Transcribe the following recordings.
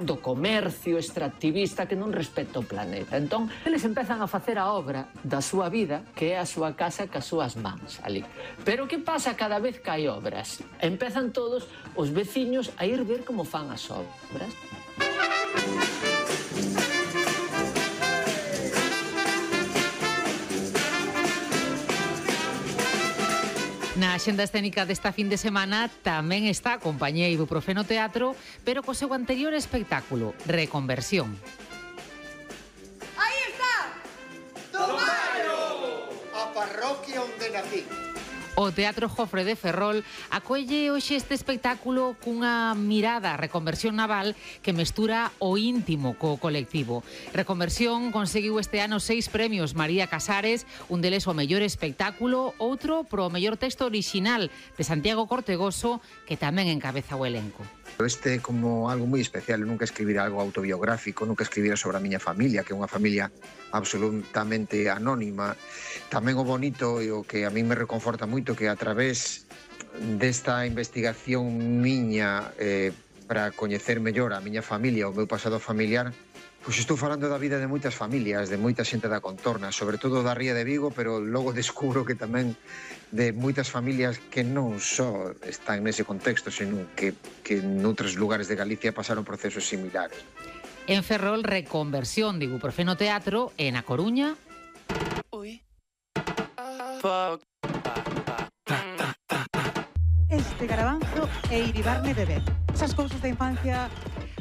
do comercio extractivista que non respecta o planeta. Entón, eles empezan a facer a obra da súa vida, que é a súa casa cas súas mans ali. Pero que pasa cada vez que hai obras? Empezan todos os veciños a ir ver como fan as obras. Na axenda escénica desta fin de semana tamén está a compañía Ibuprofeno Teatro, pero co seu anterior espectáculo, Reconversión. Aí está! Tomayo! A parroquia onde nací. O Teatro Jofre de Ferrol acolle hoxe este espectáculo cunha mirada a reconversión naval que mestura o íntimo co colectivo. Reconversión conseguiu este ano 6 premios María Casares, un deles o mellor espectáculo, outro pro mellor texto orixinal de Santiago Cortegoso, que tamén encabeza o elenco. Este é como algo moi especial, eu nunca escribira algo autobiográfico, nunca escribira sobre a miña familia, que é unha familia absolutamente anónima. Tamén o bonito e o que a mí me reconforta moito que a través desta investigación miña para coñecer mellor a miña familia, o meu pasado familiar, pois estou falando da vida de moitas familias, de moita xente da contorna, sobre todo da Ría de Vigo, pero logo descubro que tamén de moitas familias que non só están nese contexto, senón que noutros lugares de Galicia pasaron procesos similares. En Ferrol, Reconversión de Ibuprofeno Teatro, e na Coruña... Este Garabanzo e Iribarne Bebé. Esas cousas da infancia...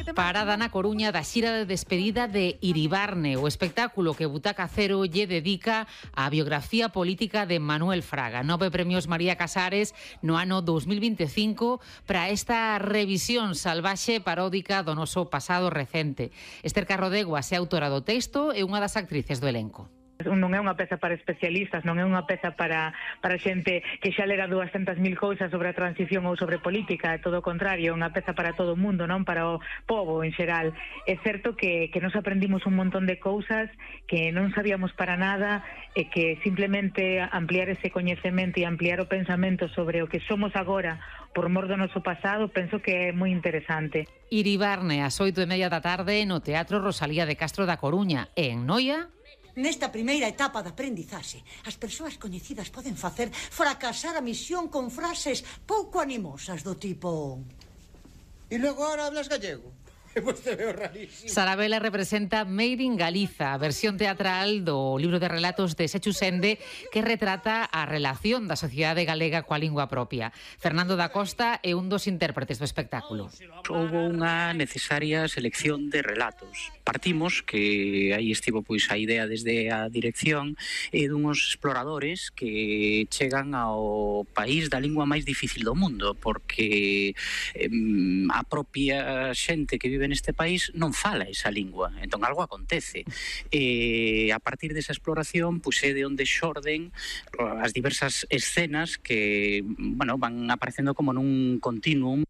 Parada na Coruña da xira de despedida de Iribarne, o espectáculo que Butaca Cero lle dedica á biografía política de Manuel Fraga. 9 premios María Casares no ano 2025 para esta revisión salvaxe paródica do noso pasado recente. Esther Carrodeguas é autora do texto e unha das actrices do elenco. Non é unha peza para especialistas, non é unha peza para xente que xa lera 200.000 cousas sobre a transición ou sobre política, é todo o contrario, é unha peza para todo o mundo, non para o pobo en xeral. É certo que nos aprendimos un montón de cousas que non sabíamos para nada e que simplemente ampliar ese coñecemento e ampliar o pensamento sobre o que somos agora por mor do noso pasado, penso que é moi interesante. Iribarne, ás 8:30 da tarde no Teatro Rosalía de Castro da Coruña, e en Noia... Nesta primeira etapa de aprendizaxe, as persoas coñecidas poden facer fracasar a misión con frases pouco animosas do tipo... E logo ahora hablas gallego? Pois te veo rarísimo. Sarabela representa Made in Galiza, a versión teatral do libro de relatos de Sechu Sende que retrata a relación da sociedade galega coa lingua propia. Fernando da Costa é un dos intérpretes do espectáculo. Houbo unha necesaria selección de relatos. Partimos, que aí estivo pois a idea desde a dirección, dunhos exploradores que chegan ao país da lingua máis difícil do mundo, porque a propia xente que vive neste país non fala esa lingua, entón algo acontece. E a partir desa exploración, pois é de onde xorden as diversas escenas que, bueno, van aparecendo como nun continuum.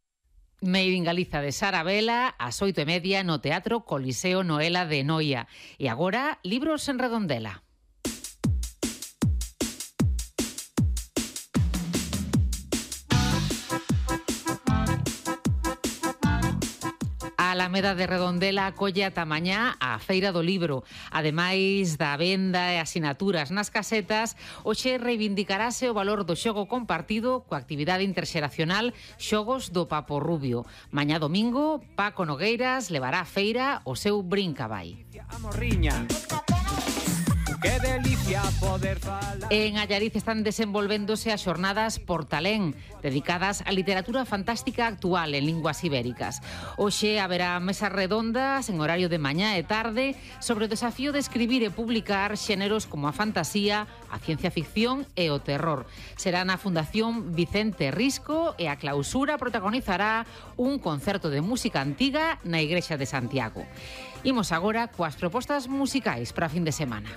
Made in Galiza de Sarabela, ás 8:30 no Teatro Coliseo Noela de Noia. E agora, libros en Redondela. A Alameda de Redondela acolle ata mañá a Feira do Libro. Ademais da venda e asinaturas nas casetas, hoxe reivindicarase o valor do xogo compartido coa actividade interxeracional Xogos do Papo Rubio. Mañá domingo, Paco Nogueiras levará a feira o seu Brincabai. Que delicia poder falar. En Allariz están desenvolvéndose as xornadas Portalén, dedicadas á literatura fantástica actual en linguas ibéricas. Hoxe haberá mesas redondas en horario de mañá e tarde sobre o desafío de escribir e publicar xéneros como a fantasía, a ciencia ficción e o terror. Será na Fundación Vicente Risco e a clausura protagonizará un concerto de música antiga na Igrexa de Santiago. Imos agora coas propostas musicais para a fin de semana.